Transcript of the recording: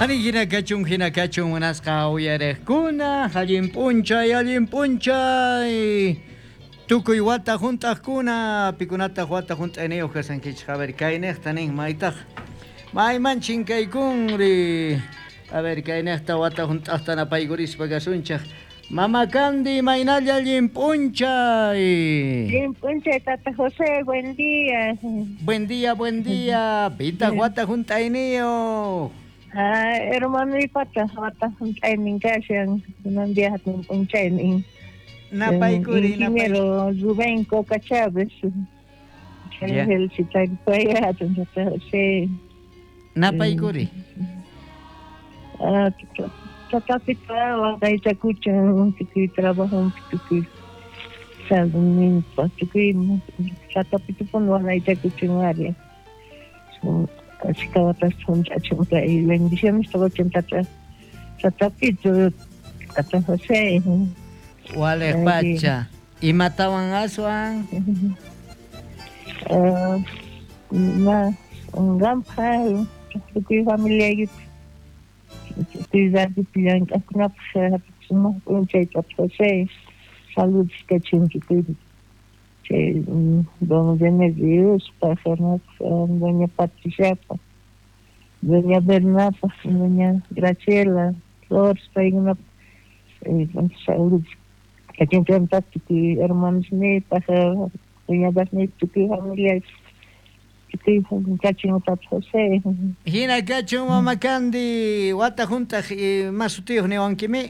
Ani hina kachun, hina kachun munasqa uyariqkuna, allin p'unchay, allin p'unchay. Tukuy wata hunt'aqkuna, pikunataq wata hunt'ayniyuq kashankichik? A ver, kayniqta nin maytaq. Mayman chinkaykunri. A ver, kayniqta wata hunt'aqta napaykurispa kasunchik. Mama Candy, maynalla allin p'unchay. Allin p'unchay, Tata José, buen día. Buen día, buen día. Pitaq wata hunt'ayniyuq? Ah, hermanoypata wata hunt'aynin kashan, kunan día hatun p'unchaynin. Napaykuri, Ingeniero Rubén Coca Chávez. Ya. Felicitaypaya, hatun Tata José. Napaykuri. Ah, Tatapita waqaychakuchan tukuy trabajompi tukuy saludninpa tukuy tatapitupun waqaychakuchan ari. Achka watas hunt'achun kay bendiciones qochun tata tatapito tata José. Waliq pacha. Imatawan aswan? Ah, na qanpaq tukuy familiaykipaq tukuy radiopi llank'aqkunapaq sumaq p'unchay tata José. Saludos kachun tukuy chay don Remediospaq, doña Patriciapaq, doña Bernapaq, doña Graciela Flores paykunapaq saludos kachun chantapaq tukuy hermanosniypaq, cuñadasniypaq, tukuy familiaypaq, tukuy kachun tata José. Hina kachun Mama Candy, wata hunt'aq ima sutiyuq niwankimi?